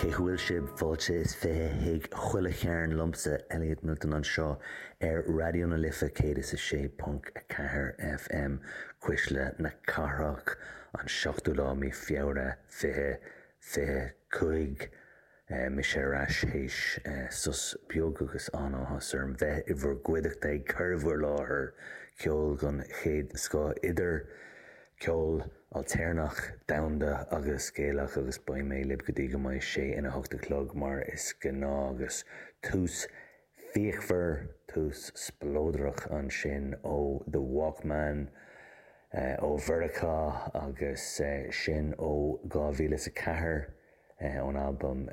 Cén chaoi a bhfuil sibh? Fáilte is 20 chuig Chuile Chearn liomsa, Elliot Milton anseo ar Raidió na Life 106.4 FM, Cuisle na Cathrach, an 7ú lá mí Feabhra 2025. Mise ar ais théis sos beag agus an-áthas orm bheith i bhur gcuideachta ag cur i bhur láthair ceol den chéad scoth, idir ceol ailtéarnach, domhanda agus Gaelach agus beidh mé libh go dtí go mbeidh sé ina hocht a chlog mar is gnáth agus tús fíochmhar, tús spleodrach ansin ó The Walkmen ó Mheiriceá agus sin ó 2004. ón albam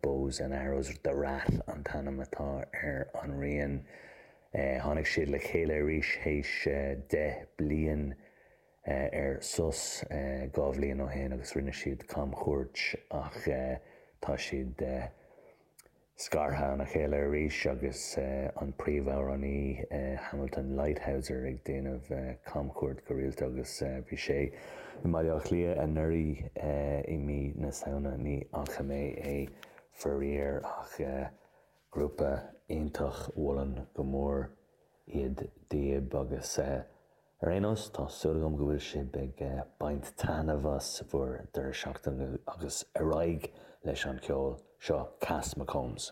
Bows and Arrows, The Rat an t-ainm atá ar an rian. Tháinig siad le chéile arís théis 10 bliain ar sos, 2 bhliain ó shin agus rinne siad camchuairt ach tá siad scartha óna chéile arís agus an príomhamhránaí Hamilton Leithauser ag déanamh camchuairt go rialta agus bhí sé i mBaile Átha Cliath anuraidh i mí na Samhna. Ní fhaca mé é faraor ach grúpa iontach, mholfainn go mór iad daoibh agus ar aon nós tá súil agam go bhfuil sibh ag baint taitneamh as bhur deireadh seachtaine agus ar aghaidh leis an cheol. Seo Cass McCombs.